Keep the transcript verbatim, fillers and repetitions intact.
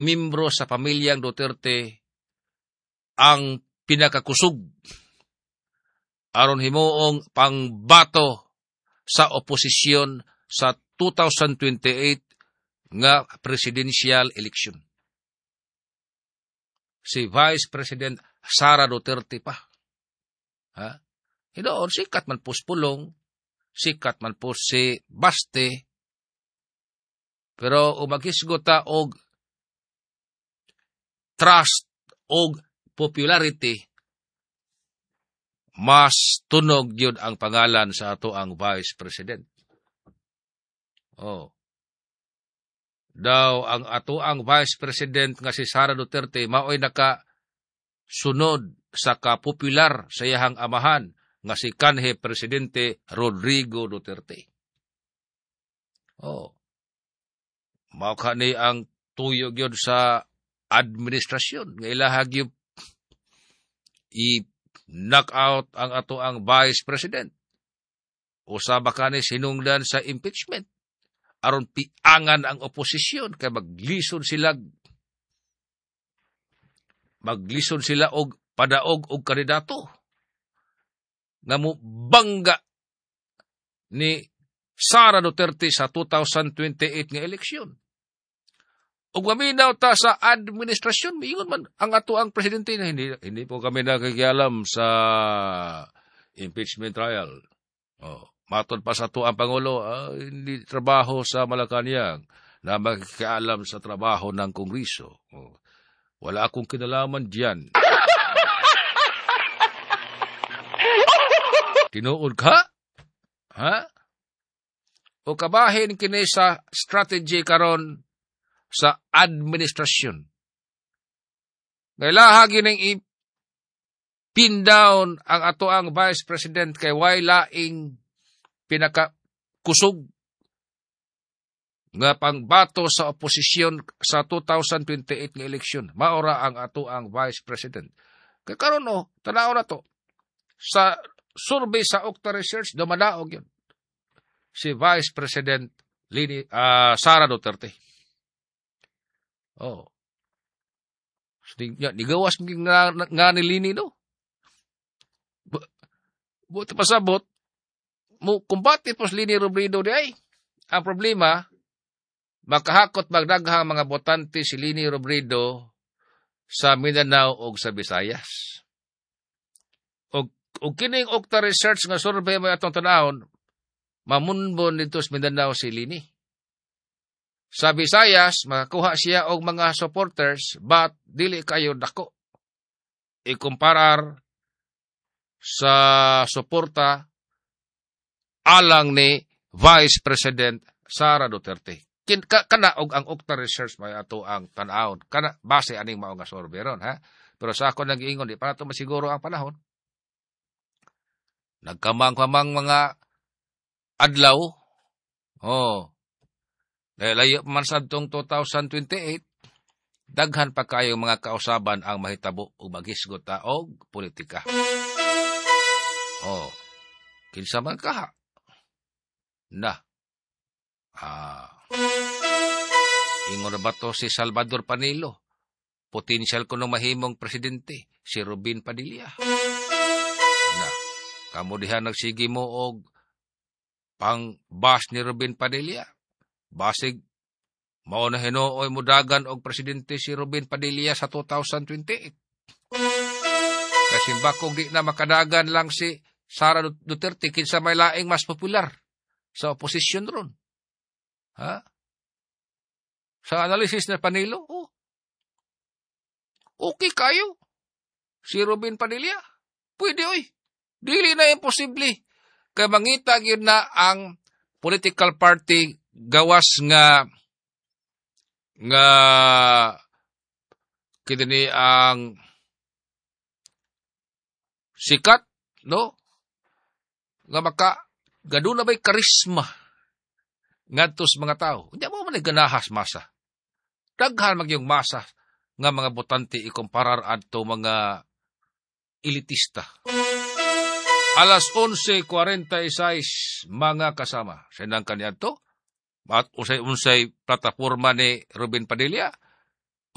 membro sa pamilyang Duterte ang pinakakusog aron himuong pangbato sa oposisyon sa twenty twenty-eight nga presidential election? Si Vice President Sara Duterte pa. Ha? Hinuon, sikat man po Pulong, sikat man po si Baste, pero maghisgot ta og trust og popularity, mas tunog yun ang pangalan sa ato ang Vice President. Oh. Daw ang ato ang Vice President nga si Sara Duterte maoy naka sunod sa kapopular sa iyahang amahan nga si kanhi Presidente Rodrigo Duterte. Oh. Mao ni ang tuyo gyud sa administrasyon nga ilaha gyud i-knock out ang ato ang Vice President. Usaba kani sinungdan sa impeachment aron piangan ang oposisyon kay maglisod sila maglisod sila og padaog og kandidato nga mo bangga ni Sara Duterte sa twenty twenty-eight nga eleksyon. Ug maminaw ta sa administrasyon, miingon man ang ato ang presidente na hindi hindi po kami nakikialam sa impeachment trial. Oh, matod pa sa ato ang pangulo, ah, hindi trabaho sa Malacanang na makikialam sa trabaho ng Kongreso. Oh, wala akong kinalaman diyan. Tinuod ka? Ha? O kabahin kini sa strategy karon sa administrasyon. Ngailaha gining i-pin down ang ato ang Vice President kay way laing pinakakusog nga pangbato sa oposisyon sa twenty twenty-eight nga eleksyon. Maora ang ato ang Vice President. Kay karon oh, tanaw na to. Sa survey sa Octa Research, dumadaog yun si Vice President Lini, uh, Sara Duterte. Oh. Nigawas nga, nga ni Leni, no? Buti pasabot, mo kumbate po si Leni Robredo di ay. Ang problema, makahakot magdaghang mga botante si Leni Robredo sa Mindanao o sa Visayas. Og, og kining Octa Research nga survey mo atong tanawon, mamunbon dito sa Mindanao si Leni. Sa Visayas, makakuha siya og mga supporters, but dili kayo dako ikumparar sa suporta alang ni Vice President Sara Duterte. Kin, ka, kana og ang Octa Research may ato ang tan-awon. Kana base aning mao nga survey ron, ha. Pero sa ako nag-iingon, di pa nato masiguro ang panahon. Nagkamang-kamang mga adlaw. Oh. Layo man sa tong twenty twenty-eight, daghan pa kayo mga kausaban ang mahitabo ug maghisgot ta og politika. Oh. Kinsa man kaha? Na. Ah. Ingon ba to si Salvador Panelo? Potensyal kuno mahimong presidente si Robin Padilla. Na. Kamo diha nagsige mo og pang bash ni Robin Padilla. Basig mao na hinuoy mudagan og presidente si Robin Padilla sa twenty twenty-eight. Kasi bakong di na makadagan lang si Sara Duterte, kinsa may laing mas popular sa oposisyon ron? Ha? Sa analysis na Panelo, oh, okay kayo. Si Robin Padilla, pwede oy. Dili na imposible. Kay mangita gyud na ang political party gawas nga nga kini ang sikat, no, nga maka gaduna bay karisma ngadto sa mga tao. Hindi mo man ganahas masa. Daghan magyong masa nga mga botante ikumparar adto mga elitista. Alas onse kwarenta y sais, mga kasama. Senang kaniadto at usay-unsay plataforma ni Robin Padilla.